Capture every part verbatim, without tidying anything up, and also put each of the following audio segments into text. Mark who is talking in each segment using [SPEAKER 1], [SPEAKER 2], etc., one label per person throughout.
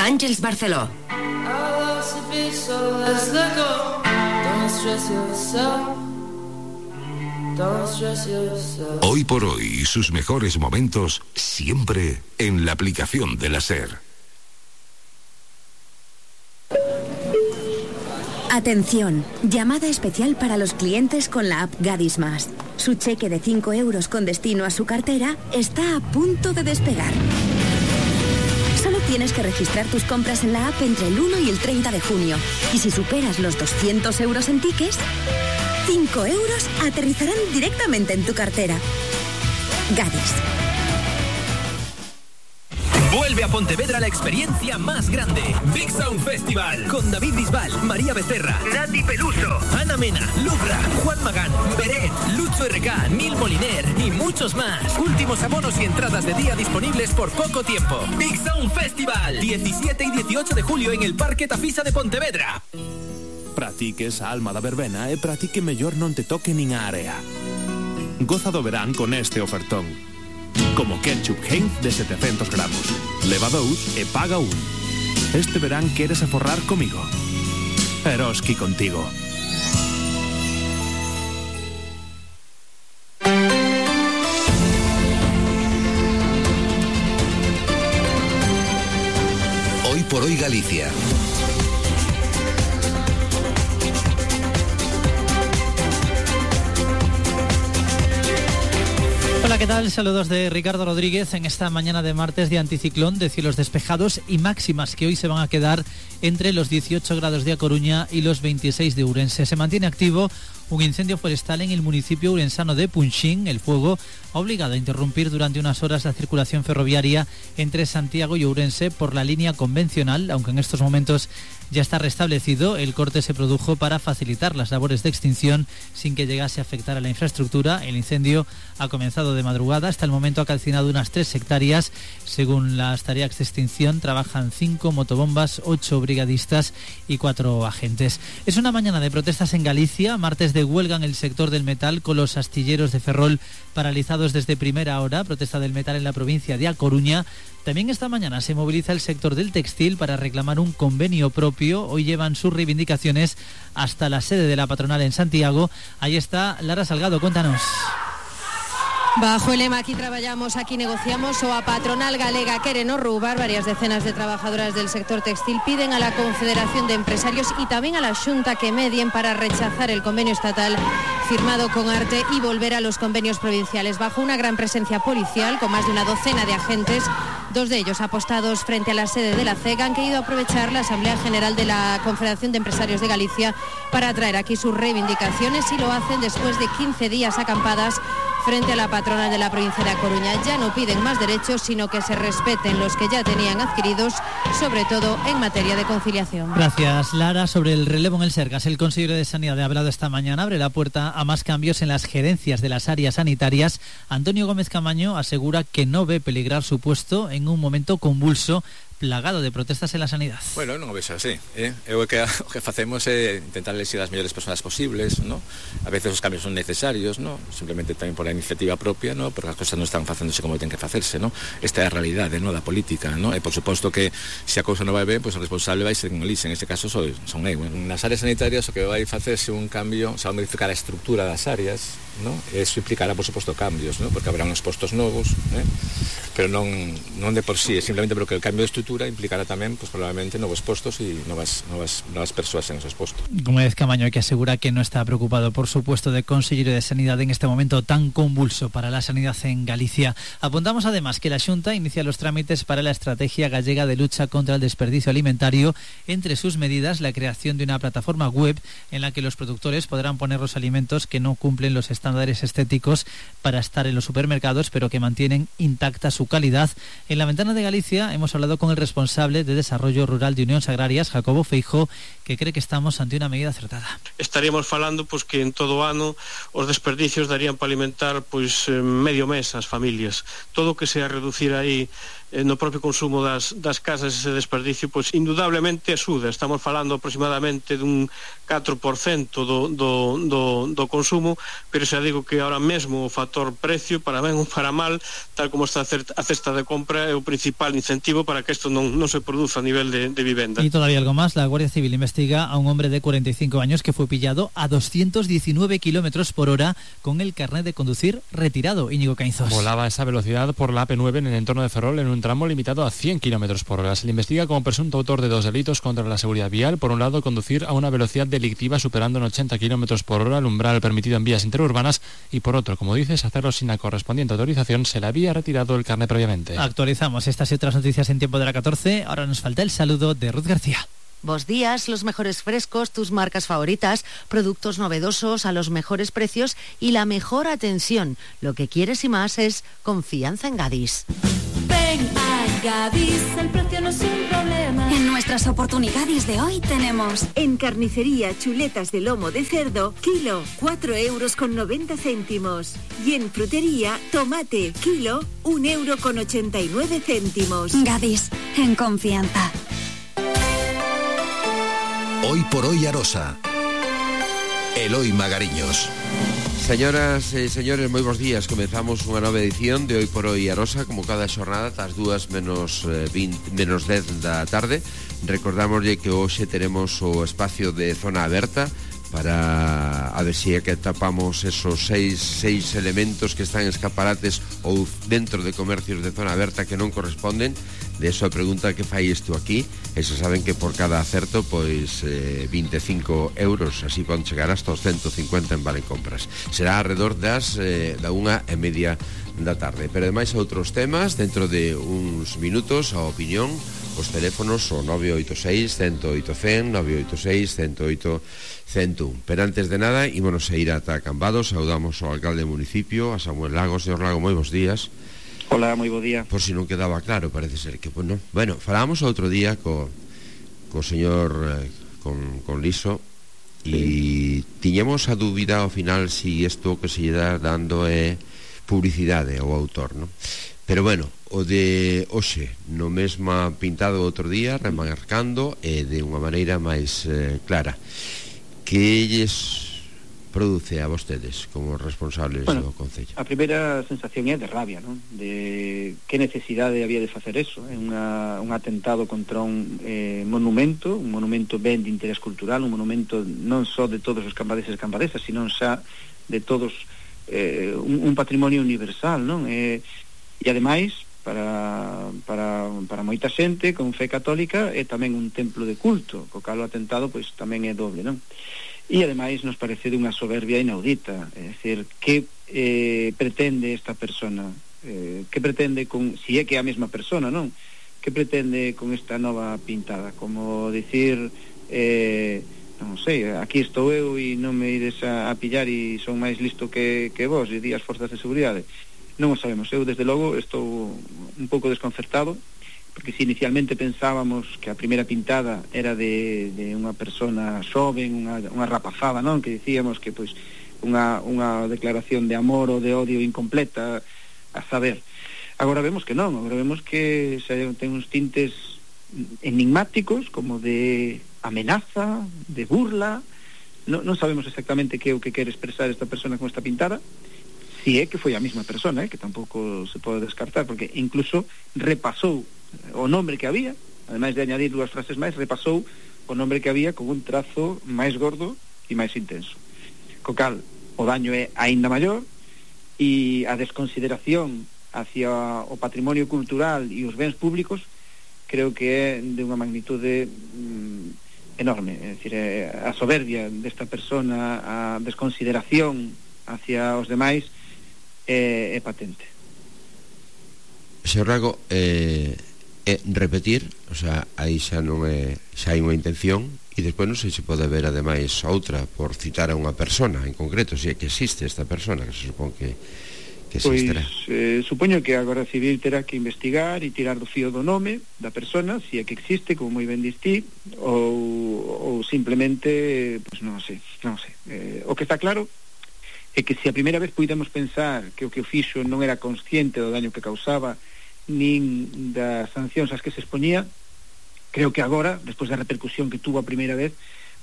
[SPEAKER 1] Àngels Barceló.
[SPEAKER 2] Hoy por hoy, sus mejores momentos siempre en la aplicación de la SER.
[SPEAKER 3] Atención, llamada especial para los clientes con la app Gadis Más. Su cheque de cinco euros con destino a su cartera está a punto de despegar. Solo tienes que registrar tus compras en la app entre el uno y el treinta de junio. Y si superas los doscientos euros en tickets, cinco euros aterrizarán directamente en tu cartera. Gadis.
[SPEAKER 4] Vuelve a Pontevedra la experiencia más grande. Big Sound Festival. Con David Bisbal, María Becerra, Nati Peluso, Ana Mena, Lubra, Juan Magán, Beret, Lucho R K, Neil Moliner y muchos más. Últimos abonos y entradas de día disponibles por poco tiempo. Big Sound Festival. diecisiete y dieciocho de julio en el Parque Tafisa de Pontevedra.
[SPEAKER 5] Practiques a alma da verbena e pratique mellor non te toque nin a area. Goza do verán con este ofertón. Como ketchup Heinz de setecientos gramos. Leva dous e paga un. Este verán queres aforrar comigo. Eroski contigo.
[SPEAKER 2] Hoy por hoy Galicia.
[SPEAKER 6] Hola, ¿qué tal? Saludos de Ricardo Rodríguez en esta mañana de martes de anticiclón, de cielos despejados y máximas que hoy se van a quedar entre los dieciocho grados de A Coruña y los veintiséis de Ourense. Se mantiene activo un incendio forestal en el municipio urensano de Punxín. El fuego ha obligado a interrumpir durante unas horas la circulación ferroviaria entre Santiago y Ourense por la línea convencional, aunque en estos momentos ya está restablecido. El corte se produjo para facilitar las labores de extinción sin que llegase a afectar a la infraestructura. El incendio ha comenzado de madrugada. Hasta el momento ha calcinado unas tres hectáreas. Según las tareas de extinción, trabajan cinco motobombas, ocho brigadistas y cuatro agentes. Es una mañana de protestas en Galicia, martes de huelga en el sector del metal, con los astilleros de Ferrol paralizados desde primera hora. Protesta del metal en la provincia de A Coruña. También esta mañana se moviliza el sector del textil para reclamar un convenio propio. Hoy llevan sus reivindicaciones hasta la sede de la patronal en Santiago. Ahí está Lara Salgado, cuéntanos.
[SPEAKER 7] Bajo el lema "Aquí traballamos, aquí negociamos", o a patronal galega quere non roubar, varias decenas de trabajadoras del sector textil piden a la Confederación de Empresarios y también a la Xunta que medien para rechazar el convenio estatal firmado con Arte y volver a los convenios provinciales. Bajo una gran presencia policial, con más de una docena de agentes, dos de ellos apostados frente a la sede de la C E G, han querido aprovechar la Asamblea General de la Confederación de Empresarios de Galicia para traer aquí sus reivindicaciones, y lo hacen después de quince días acampadas frente a la patronal de la provincia de A Coruña. Ya no piden más derechos, sino que se respeten los que ya tenían adquiridos, sobre todo en materia de conciliación.
[SPEAKER 6] Gracias, Lara. Sobre el relevo en el Sergas, el consejero de Sanidad ha hablado esta mañana, abre la puerta a más cambios en las gerencias de las áreas sanitarias. Antonio Gómez Camaño asegura que no ve peligrar su puesto en un momento convulso, plagado de protestas en la sanidad.
[SPEAKER 8] Bueno, non o vexo así, eh? Eu que o que facemos é intentar elegir as mellores persoas posibles, ¿no? A veces os cambios son necesarios, ¿no? Simplemente tamén por a iniciativa propia, ¿no? Porque as cosas non están facéndose como ten que facerse, ¿no? Esta é a realidade, ¿no? Da política, ¿no? E por suposto que se a cousa non vai ben, pois pues, o responsable vai ser un elise, en este caso son, son eu. Nas áreas sanitarias o que vai facerse un cambio, se vai modificar a estructura das áreas, ¿no? Eso implicará, por suposto, cambios, ¿no? Porque habrá uns postos novos, ¿eh? Pero non, non de por sí, é simplemente porque el cambio de estructura implicará tamén, pues, probablemente, novos postos e novas, novas, novas persoas en esos postos.
[SPEAKER 6] Gómez Camaño, que asegura que no está preocupado por su puesto de consejero de Sanidad en este momento tan convulso para la sanidad en Galicia. Apuntamos además que la Xunta inicia los trámites para la estrategia gallega de lucha contra el desperdicio alimentario. Entre sus medidas, la creación de una plataforma web en la que los productores podrán poner los alimentos que no cumplen los estándares estéticos para estar en los supermercados, pero que mantienen intacta su calidad. En la Ventana de Galicia hemos hablado con el responsable de Desarrollo Rural de Unións Agrarias, Jacobo Feijóo, que cree que estamos ante una medida acertada.
[SPEAKER 9] Estaríamos falando pois que en todo o ano os desperdicios darían para alimentar pois medio mes as familias. Todo o que sea reducir aí eh, no propio consumo das, das casas, ese desperdicio, pois indudablemente axuda. Estamos falando aproximadamente dun catro por cento do, do, do, do consumo, pero xa digo que ahora mesmo o factor precio, para ben ou para mal, tal como está a cesta de compra, é o principal incentivo para que isto non, non se produza a nivel de, de vivenda.
[SPEAKER 6] Y todavía algo más, la Guardia Civil investiga a un hombre de cuarenta y cinco años que fue pillado a doscientos diecinueve kilómetros por hora con el carnet de conducir retirado. Íñigo Cainzos.
[SPEAKER 1] Volaba a esa velocidad por la A P nueve en el entorno de Ferrol en un tramo limitado a cien kilómetros por hora. Se le investiga como presunto autor de dos delitos contra la seguridad vial. Por un lado, conducir a una velocidad delictiva superando en ochenta kilómetros por hora el umbral permitido en vías interurbanas, y por otro, como dices, hacerlo sin la correspondiente autorización. Se le había retirado el carnet previamente.
[SPEAKER 6] Actualizamos estas y otras noticias en tiempo de la catorce. Ahora nos falta el saludo de Ruth García.
[SPEAKER 10] Buenos días, los mejores frescos, tus marcas favoritas, productos novedosos a los mejores precios y la mejor atención. Lo que quieres y más es confianza en Gadis.
[SPEAKER 11] Ven a Gadis, el precio no es un problema.
[SPEAKER 3] En nuestras oportunidades de hoy tenemos en carnicería chuletas de lomo de cerdo, kilo, cuatro euros con noventa céntimos. Y en frutería, tomate, kilo, un euro con ochenta y nueve céntimos.
[SPEAKER 11] Gadis, en confianza.
[SPEAKER 2] Hoy por hoy Arosa. Eloi Magariños.
[SPEAKER 12] Señoras e señores, moi bons días. Comezamos unha nova edición de Hoy por Hoy Arosa, como cada xornada, ás dúas menos veinte, menos dez da tarde. Recordamoslle que hoxe teremos o espacio de zona aberta para a ver se é que tapamos esos seis, seis elementos que están en escaparates ou dentro de comercios de zona aberta que non corresponden. De eso a pregunta que fai isto aquí, e se saben que por cada acerto pois eh, veinticinco euros, así poden chegar hasta os ciento cincuenta en vale compras. Será alrededor das eh, da unha e media da tarde. Pero ademais outros temas dentro de uns minutos, a opinión, os teléfonos o nove oito seis, cero oito cero, nove oito seis, cero oito cero un. Pero antes de nada, ímonos a ir ata Cambados. Saudamos ao alcalde do municipio, a Samuel Lago. Señor Lago, moi bons días.
[SPEAKER 13] Hola, moi bo día.
[SPEAKER 12] Por si non quedaba claro, parece ser que, pues, no. Bueno, falábamos outro día co, co señor eh, con, con Liso, e sí. Tiñemos a dúbida ao final si isto que se lle dá dando é publicidade ao autor, non? Pero bueno, o de hoxe no mesma pintado outro día, remarcando e de unha maneira máis eh, clara. Que lles produce a vostedes como responsables
[SPEAKER 13] bueno,
[SPEAKER 12] do Concello?
[SPEAKER 13] A primeira sensación é de rabia, non? De que necesidade había de facer eso. É unha, un atentado contra un eh, monumento, un monumento ben de interés cultural, un monumento non só de todos os cambadeses e cambadesas, sino xa de todos, eh, un, un patrimonio universal, non? E, e ademais, para, para, para moita xente con fe católica, é tamén un templo de culto, co cal o atentado pois tamén é doble, non? E ademais nos parece de unha soberbia inaudita, é dicir, que eh, pretende esta persona, eh, que pretende con, si é que é a mesma persona, non? Que pretende con esta nova pintada, como dicir, eh, non sei, aquí estou eu e non me ides a, a pillar e son máis listo que, que vos, e di as forzas de seguridade. Non o sabemos, eu desde logo estou un pouco desconcertado, porque se inicialmente pensábamos que a primeira pintada era de, de unha persona xoven, unha, unha rapazada, non? Que dicíamos que pois unha, unha declaración de amor ou de odio incompleta, a saber. Agora vemos que non, agora vemos que xa ten uns tintes enigmáticos, como de amenaza, de burla. Non, non sabemos exactamente que é o que quere expresar esta persona con esta pintada, si é que foi a mesma persona, eh, que tampouco se pode descartar, porque incluso repasou o nombre que había, ademais de añadir dúas frases máis, repasou o nombre que había con un trazo máis gordo e máis intenso. Co cal, o daño é aínda maior, e a desconsideración hacia o patrimonio cultural e os bens públicos creo que é de unha magnitude mm, enorme. É dicir, a soberbia desta persona, a desconsideración hacia os demais é, é patente.
[SPEAKER 12] Señor Lago, eh... é repetir, o sea, aí xa non é, xa hai unha intención, e despois non sei se pode ver ademais outra por citar a unha persona en concreto, se é que existe esta persona, que se supón que, que existirá.
[SPEAKER 13] Pois, eh, supoño que a Garda Civil terá que investigar e tirar do fío do nome da persona, se é que existe, como moi ben distí, ou, ou simplemente, pois non sei, non sei. Eh, o que está claro é que se a primeira vez puidemos pensar que o que o fixo non era consciente do daño que causaba, nin das sancións ás que se expoñía. Creo que agora, despois da repercusión que tuvo a primeira vez,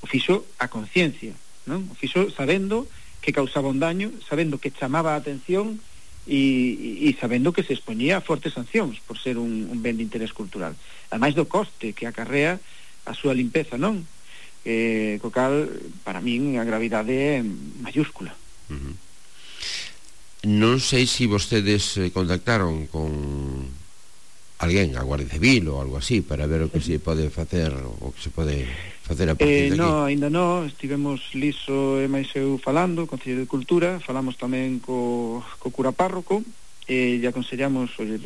[SPEAKER 13] o fixo a conciencia, non? O fixo sabendo que causaba un daño, sabendo que chamaba a atención e, e sabendo que se expoñía a fortes sancións por ser un, un ben de interés cultural, ademais do coste que acarrea a súa limpeza, non? Eh, co cal, para min, a gravidade é mayúscula.
[SPEAKER 12] Uh-huh. Non sei se vostedes contactaron con alguén, a Guardia Civil ou algo así, para ver o que se pode facer, o que se pode facer a partir
[SPEAKER 13] eh,
[SPEAKER 12] de aquí.
[SPEAKER 13] No, ainda non, estivemos Liso e máis eu falando, Concello de Cultura, falamos tamén co, co cura párroco, e lle aconsellamos, oye,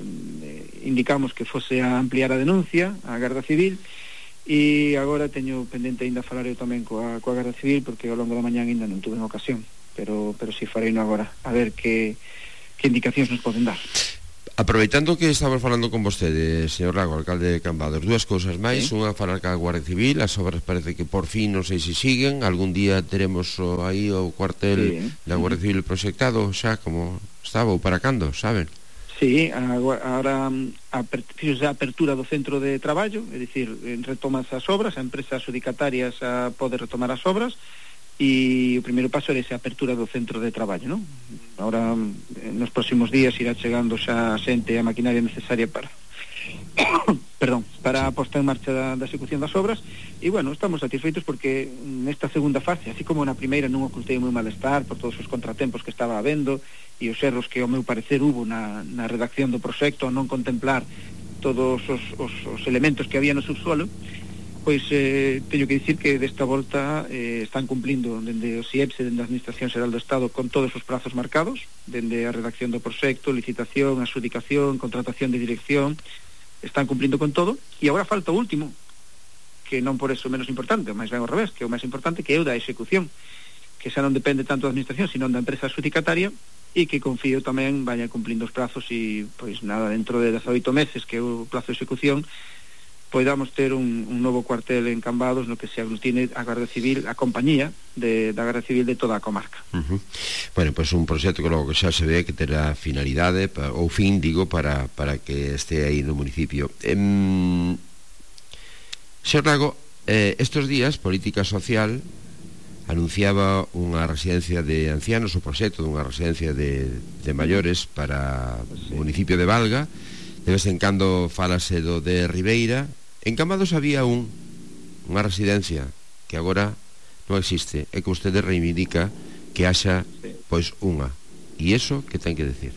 [SPEAKER 13] indicamos que fose a ampliar a denuncia á Garda Civil, e agora teño pendente ainda falar eu tamén coa, coa Garda Civil, porque ao longo da mañán ainda non tuve ocasión, pero pero si farei no agora, a ver que, que indicacións nos poden dar.
[SPEAKER 12] Aproveitando que estamos falando con vostede, señor Lago, alcalde de Cambados, dúas cousas máis, sí. Unha falar ca Guardia Civil, as obras parece que por fin non sei se siguen, algún día teremos o, aí o cuartel sí. da Guardia Civil proxectado xa como estaba ou para cando, saben?
[SPEAKER 13] Sí, agora a, a apertura do centro de traballo, é dicir, retomas as obras, a empresa adjudicatarias a pode retomar as obras, e o primeiro paso é esa apertura do centro de traballo, non? Ahora, nos próximos días irá chegando xa a xente e a maquinaria necesaria para perdón, para a posta en marcha da, da execución das obras, e bueno, estamos satisfeitos porque nesta segunda fase, así como na primeira non ocultei o meu malestar por todos os contratempos que estaba habendo e os erros que ao meu parecer hubo na, na redacción do proxecto, non contemplar todos os, os, os elementos que había no subsuelo, pois eh, teño que dicir que desta volta eh, están cumplindo dende o SIEPSE, dende a Administración Xeral do Estado, con todos os prazos marcados, dende a redacción do proxecto, licitación, adxudicación, contratación de dirección, están cumplindo con todo, e agora falta o último, que non por eso menos importante, máis ben ao revés, que é o máis importante, que é o da execución, que xa non depende tanto da Administración, sino da empresa adxudicataria, e que confío tamén vaya cumplindo os prazos e, pois nada, dentro de dezaoito meses, que é o plazo de execución, podamos ter un, un novo cuartel en Cambados no que se aglutine a Garda Civil, a compañía de, da Garda Civil de toda a comarca.
[SPEAKER 12] Uh-huh. Bueno, pois pues un proxecto que logo que xa se ve que terá finalidade, pa, ou fin, digo, para, para que este aí no municipio. Em, Señor Lago, eh, estos días Política Social anunciaba unha residencia de ancianos, o proxecto dunha residencia de, de maiores para sí. o municipio de Valga. De vez en cando falase do de Ribeira. En Cambados había un unha residencia que agora non existe, é que vostede reivindica que haxa pois unha, e iso que ten que decir?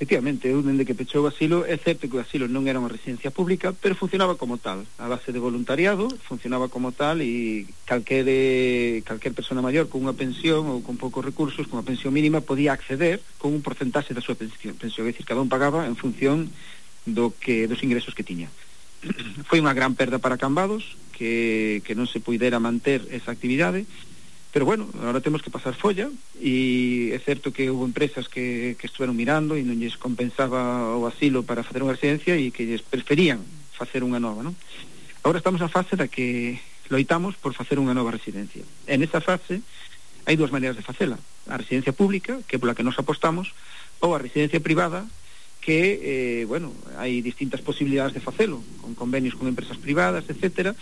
[SPEAKER 13] Efectivamente, eu dende que pechou o asilo, é certo que o asilo non era unha residencia pública, pero funcionaba como tal, a base de voluntariado, funcionaba como tal, e calquer, calquer persona maior con unha pensión ou con poucos recursos, con unha pensión mínima, podía acceder con un porcentaxe da súa pensión, pensión, é dicir, cada un pagaba en función do que, dos ingresos que tiña. Foi unha gran perda para Cambados, que, que non se puidera manter esa actividade, pero bueno, agora temos que pasar folla, e é certo que houve empresas que, que estuveron mirando e non lles compensaba o asilo para facer unha residencia e que lles preferían facer unha nova, non? Agora estamos na fase da que loitamos por facer unha nova residencia. En esa fase hai dúas maneiras de facela: a residencia pública, que é pola que nos apostamos, ou a residencia privada, que, eh, bueno, hai distintas posibilidades de facelo, con convenios con empresas privadas, etcétera.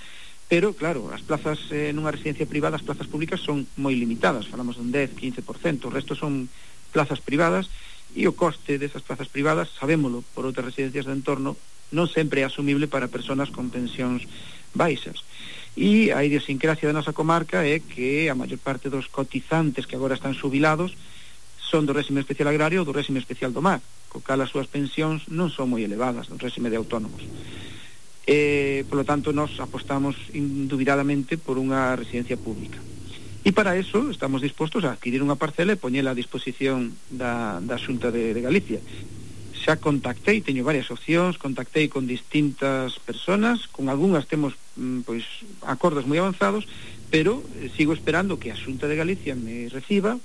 [SPEAKER 13] Pero, claro, as plazas eh, nunha residencia privada, as plazas públicas son moi limitadas, falamos dun dez, quince por cento, o resto son plazas privadas, e o coste desas plazas privadas, sabémolo por outras residencias do entorno, non sempre é asumible para persoas con pensións baixas. E a idiosincrasia da nosa comarca é que a maior parte dos cotizantes que agora están xubilados son do réxime especial agrario ou do réxime especial do mar, co cal as súas pensións non son moi elevadas do réxime de autónomos. Eh, polo tanto, nos apostamos indubidadamente por unha residencia pública. E para eso estamos dispostos a adquirir unha parcela e poñela a disposición da, da Xunta de, de Galicia. Xa contactei, teño varias opcións, contactei con distintas personas, con algunhas temos pois acordos moi avanzados, pero eh, sigo esperando que a Xunta de Galicia me reciba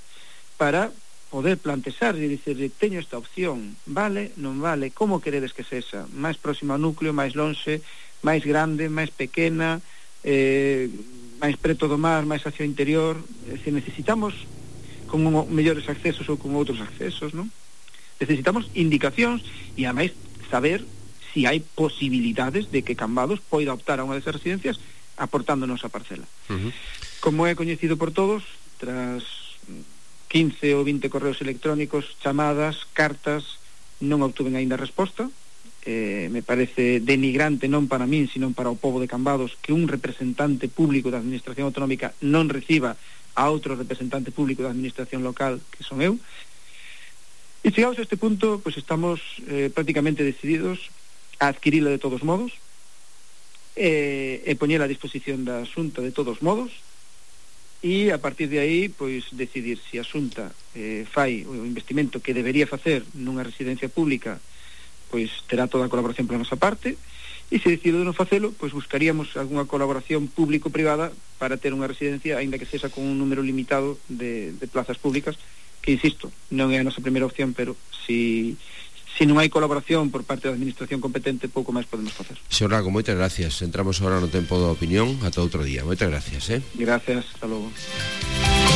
[SPEAKER 13] para poder plantexar e dicerle, teño esta opción, vale, non vale, como queredes que sexa, máis próxima ao núcleo, máis lonxe, máis grande, máis pequena, eh, máis preto do mar, máis hacia o interior, é dicir, necesitamos con mellores accesos ou con outros accesos, non? Necesitamos indicacións, e ademais saber si hai posibilidades de que Cambados poida optar a unha desas residencias aportándonos a parcela. Uh-huh. Como é coñecido por todos, tras quince ou vinte correos electrónicos, chamadas, cartas, non obtuven aínda resposta. Eh, me parece denigrante non para min, sino para o pobo de Cambados que un representante público da administración autonómica non reciba a outro representante público da administración local, que son eu. E chegados a este punto, pues estamos eh, prácticamente decididos a adquirila de todos modos e, e poñela a disposición da Xunta de todos modos, e a partir de aí pois decidir se a Xunta eh, fai o investimento que debería facer nunha residencia pública, pois terá toda a colaboración pola nosa parte, e se decide non facelo, pois buscaríamos algunha colaboración público-privada para ter unha residencia, aínda que sexa con un número limitado de, de plazas públicas, que insisto, non é a nosa primeira opción, pero si Se non hai colaboración por parte da administración competente, pouco máis podemos facer.
[SPEAKER 12] Señor Lago, moitas gracias. Entramos agora no tempo da opinión. Ata outro día. Moitas gracias, eh?
[SPEAKER 13] Gracias, hasta logo.